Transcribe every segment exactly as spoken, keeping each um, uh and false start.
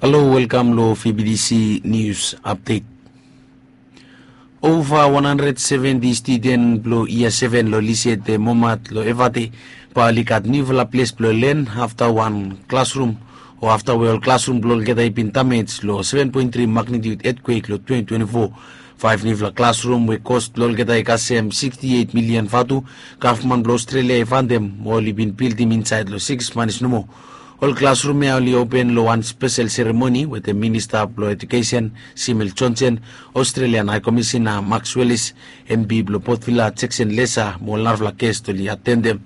Halo, welkam lo V B T C News Update. Ova wan handred seventi studen blo yia seven lo Lisiete Momat lo Evate bae oli gat niufala ples blo len afta wan klasrum o afta we ol klasrum blo olgeta i bin damej lo seven point three magnitude etkwek lo twenty twenty-four. Faef niufala klasrum we kos blo olgeta i kasem sixty-eight milian vatu, gavman blo Australia i fantem mo oli bin bildim insaed lo siks manis nomo. Ol klasrum ya oli open lo wan spesel seremoni wetem Minista blo Edukesen Simil Johnson, Australian High Commissioner Max Wellis, M P blo Port Vila Jackson Lesa mo ol narafala gest oli atendem.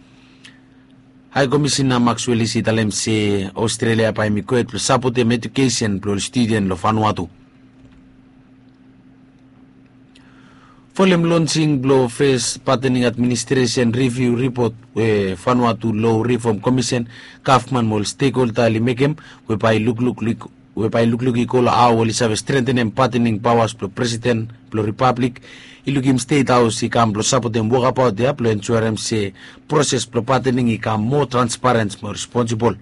High Commissioner Max Wellis i talem se Australia bae hemi gohed blo sapotem edukesen blo ol studen lo Vanuatu. Folem lonsing blo fes patening administresen riviu ripot we Vanuatu Law Reform Commission, gavman mo ol stekholda oli mekem, we bae i lukluk we bae i lukluk i go lo hao oli save strentenem patening paoas blo presiden blo ripablik, i lukim Stet Haos i kam blo sapotem wokabaot ya blo ensurem se proses blo patening i kam moa transparens mo responsibol.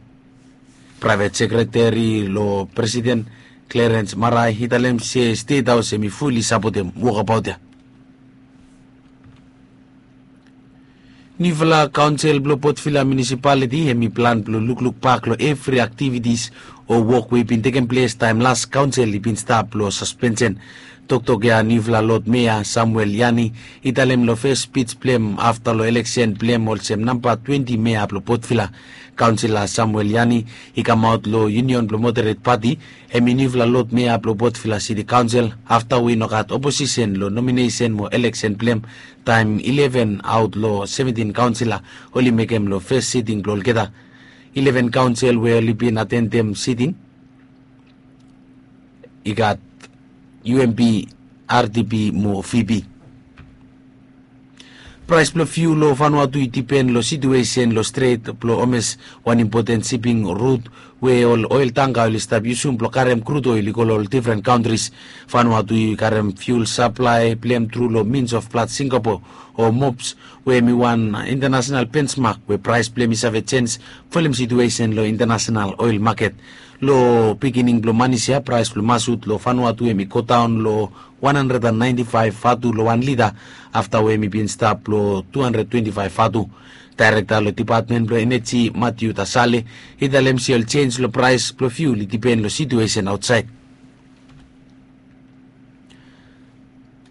Praevet sekreteri lo presiden, Clarence Marae, i talem se Stet Haos hemi fuli sapotem wokabaot ya. Niufala kaonsel blo Port Vila Munisipaliti hemi plan blo lukluk bak lo evri aktivitis o wok we i bin tekem ples taem las kaonsel i bin stap lo saspensen. Toktok ya niufala Lod Mea Samuel Yani i talem lo fes spij blo hem afta lo eleksen blo hem olsem namba twenti mea blo Port Vila. Kaonsela Samuel Yani i kamaot lo Union blo Moderet Pati, hemi niufala Lod Mea blo Port Vila Siti Kaonsel, afta we i no gat oposisen lo nominesen mo eleksen blo hem taem ileven aot lo seventin kaonsela oli mekem lo fes siting blo olgeta. Ileven kaonsel we oli bin atendem siting i gat U M P, R D P mo V P. Praes blo fiul lo Vanuatu i dipen lo situesen lo Stret blo Hormuz, wan impoten siping rut we ol oel tangka oli stap yusum blo karem krud oel i go lo ol difren kantris. Vanuatu i karem fiul saplae blo hem tru lo mins of plat Singapore o mops, we hemi wan intanasenal bensmak we praes blo hem i save jenj folem situesen lo intanasenal oel maket. Lo bigining blo manis ya praes blo masut lo Vanuatu hemi godaon lo wan handred and naenti faef vatu lo wan lita, afta we hemi bin stap lo tu handred twenti faef vatu. Daerekta lo dipatmen blo eneji Matiu Tasale i talem se ol jenj lo praes blo fiul i dipen lo situesen aotsaed.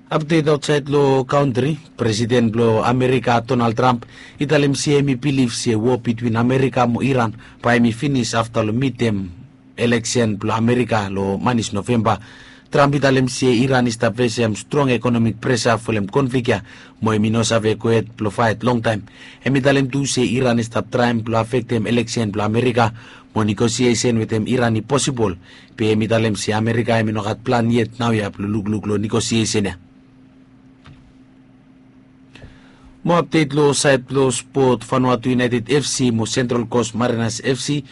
Apdet aotsaed lo kantri, Presiden blo Amerika Donald Trump i talem se hemi bilif se wo bitwin Amerika mo Iran bae hemi finis afta lo midtem eleksen blo Amerika lo manis Novemba. Trump i talem se Iran i stap fesem strong ekonomik presa folem konflik ya, mo hemi no save gohed blo faet longtaem. Hemi talem tu se Iran i stap traem blo afektem eleksen blo Amerika, mo negosiesen wetem Iran i posibol. Be hemi talem se Amerika hemi no gat plan yet naoia blo lukluk lo negosiesen ya. Mo apdet lo saed blo spot, Vanuatu United F C mo Central Coast Mariners F C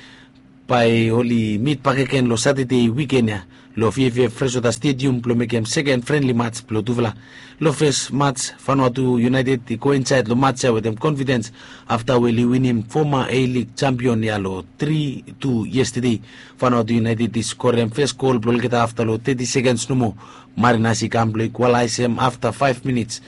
bae oli mit bakegen lo Satade wiken ya lo V F F Freshwater Stadium blo mekem seken frenli mats blo tufala. Lo fes mats, Vanuatu United i go insaed lo mats ya wetem konfidens afta we oli winim foma A-League jampion ya lo tri tu yestade. Vanuatu United i skorem fes gol blo olgeta afta lo teti sekens nomo. Mariners i kam blo ikwalaesem afta faef minits.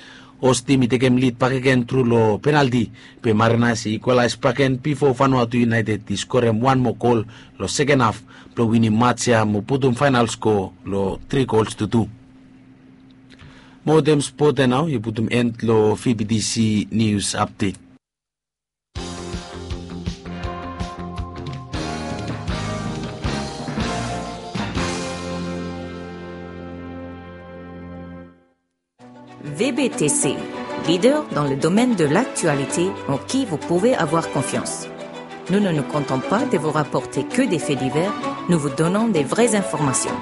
Hos tim i tekem lid bakegen tru lo penalti, be Mariners i ikwalaes bakegen bifo Vanuatu United i skorem wan moa gol lo seken haf blo winim mats ya mo putum faenal skoa lo tri gols tu tu. Mo wetem spot ya nao i putum en lo V B T C News Update. V B T C, leader dans le domaine de l'actualité en qui vous pouvez avoir confiance. Nous ne nous contentons pas de vous rapporter que des faits divers, nous vous donnons des vraies informations.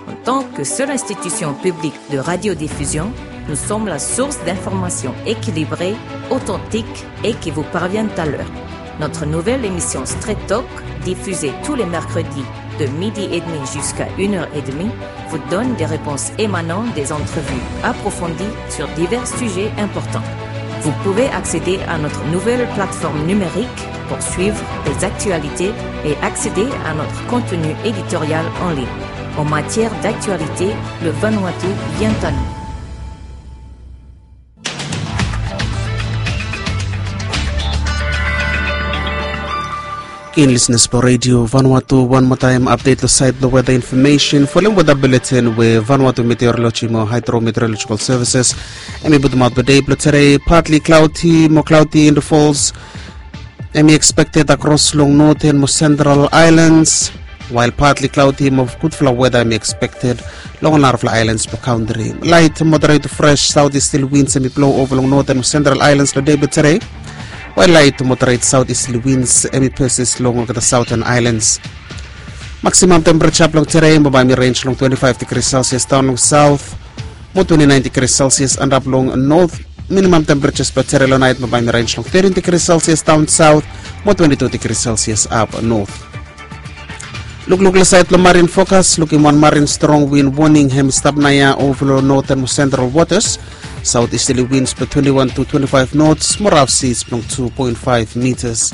En tant que seule institution publique de radiodiffusion, nous sommes la source d'informations équilibrées, authentiques et qui vous parviennent à l'heure. Notre nouvelle émission Straight Talk, diffusée tous les mercredis de midi et demi jusqu'à une heure et demie, vous donne des réponses émanant des entrevues approfondies sur divers sujets importants. Vous pouvez accéder à notre nouvelle plateforme numérique pour suivre les actualités et accéder à notre contenu éditorial en ligne. En matière d'actualité, le Vanuatu vient à nous. Keen listeners blong Radio Vanuatu, wan moa taem update long sait blong weather information folem weather bulletin we Vanuatu Meteorology mo Hydrometeorological Services hemi putumaot blong dei blong tede. Partly cloudy mo cloudy in the falls hemi expected across long northern mo central islands, while partly cloudy mo gudfala weather hemi expected long narafala islands blong country. Light moderate to fresh southeasterly winds hemi blow over long northern mo central islands long dei blong tede, while light moderate southeasterly winds hemi persist long olgeta southern islands. Maximum temperature blong tede mo bae hemi range long twenty-five degrees Celsius daon long south mo twenty-nine degrees Celsius antap long north. Minimum temperatures blong tede long nait mo bae hemi range long thirteen degrees Celsius daon south mo twenty-two degrees Celsius ap north. Lukluk long sait blong marine forecast, lukim wan marine strong wind warning hemi stap naoia over long northern mo central waters. Southeasterly winds blong twenty-one to twenty-five knots mo rough seas blong two point five meters.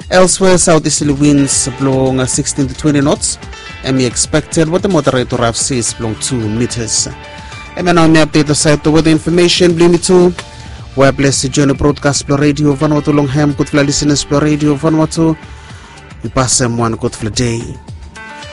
Elsewhere, southeasterly winds blong sixteen to twenty knots hemi expected wetem moderate to rough seas blong two meters. Hemia nao hemi update long sait blong weather information blong yumi tu. Webless join long broadcast blong Radio Vanuatu long hem. Gudfala listeners blong Radio Vanuatu, yu pasem wan gudfala dei.